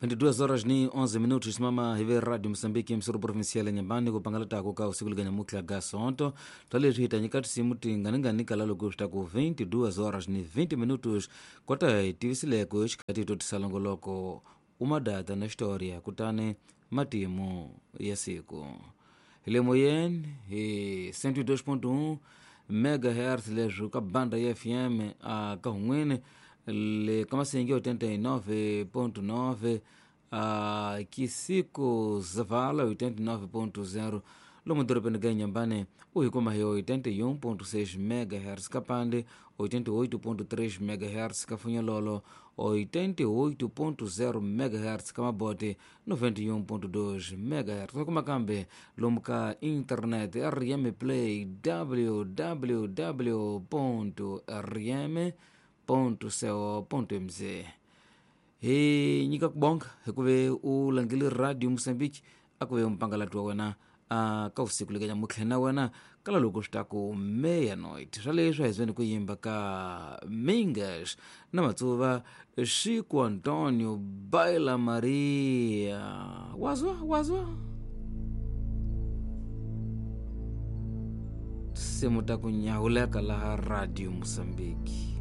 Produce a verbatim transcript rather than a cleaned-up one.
vinte e duas horas ni onze minutos simama hive Radio Mozambique msuru provincial Nyambani kupangala tako ka usiku liganya mukla ga sonto twaleswi hitanyika tisimu tinganingani kala loko swi ta ku vinte e duas horas ni vinte minutos kota hi tivisileko xikati to tisalongoloko uma data na história kutani matimu ya siku hi le moyeni hi cento e dois ponto um megahertz leswi ka banda ya F M a ka hun'wini le ka Masingi oitenta e nove ponto nove a Kisiko Zavala oitenta e nove ponto zero lomu dorobeni ga Inhambane u hi kuma hi oitenta e um ponto seis megahertz ka Pande oitenta e oito ponto três megahertz ka Funhololo oitenta e oito ponto zero megahertz ka Mabote noventa e um ponto dois megahertz kuma kambe lomu ka internet R M Play w w w ponto r m ponto co ponto m z hi nyika ku bonga hikuve u langile Radio Mozambique a ku ve mpangalati wa wena a ka usiku lekanya mutlhe na wena kala loko swi ta ku meia-noite swa leswi a hi zweni ku yimba ka Mingas na Matsuva Chico Antonio Baila Maria wazwa wazwa tinsimu ta ku nyawuleka laha Radio Mozambique.